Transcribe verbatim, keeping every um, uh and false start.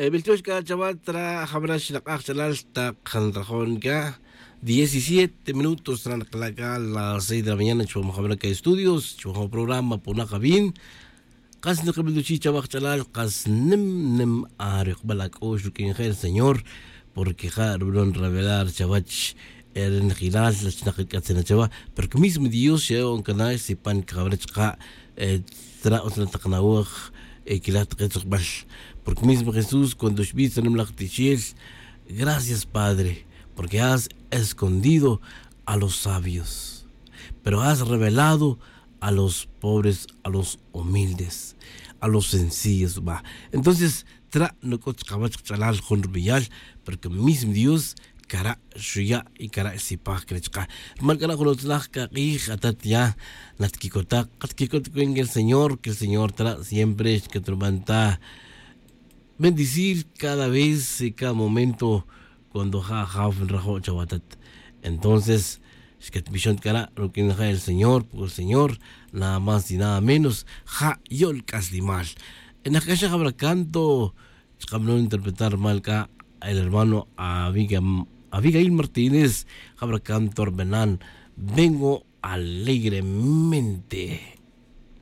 Beltiox c'a chaval tra jabra xnak'aj ch'alal tak nrajon c'a diecisiete minutos tra nakala' c'a las seis de la mañana chuwan jabra c'a estudios chuwan programa punak abin. Kas nakabiltuchi' chawaj ch'alal kas nim nim arujbal ac'u'x ruq'uin ja el señor, porque ja' rubanon revelar chawach erinejilal lach nakac'atzin achawa. Porque mismo dios xe'o'on cana' sipan cajawra chaka'. Tra' utz na tak nawaj quilaj tak etzojbal. Porque mismo jesús cuando xbij tzanimlaj tichel, gracias padre, porque has escondido a los sabios, pero has revelado a los pobres, a los humildes, a los sencillos ba. Entonces tra' nuc'ut chkawach kch'alal jun rubeyal, porque mismo dios cara' xuya' y cara' xsipaj cre chka'. Rumal c'a ra' jun utzlaj c'a k'ij atat ya natquicota' katquicot cuenta que el señor que el señor tra' siempre xcatruban ta bendecir cada vez y cada momento. Cuando ja' jaw nrajo' chawatat, entonces xcatbixon c'a ra' ruq'uin ja' el señor porque el señor nada más y nada menos ja' yo'l c'aslimal. Enaj c'a xa jabra canto chkamnon interpretar rumal c'a el hermano abigail martínez. Jabra canto rbenan vengo alegremente.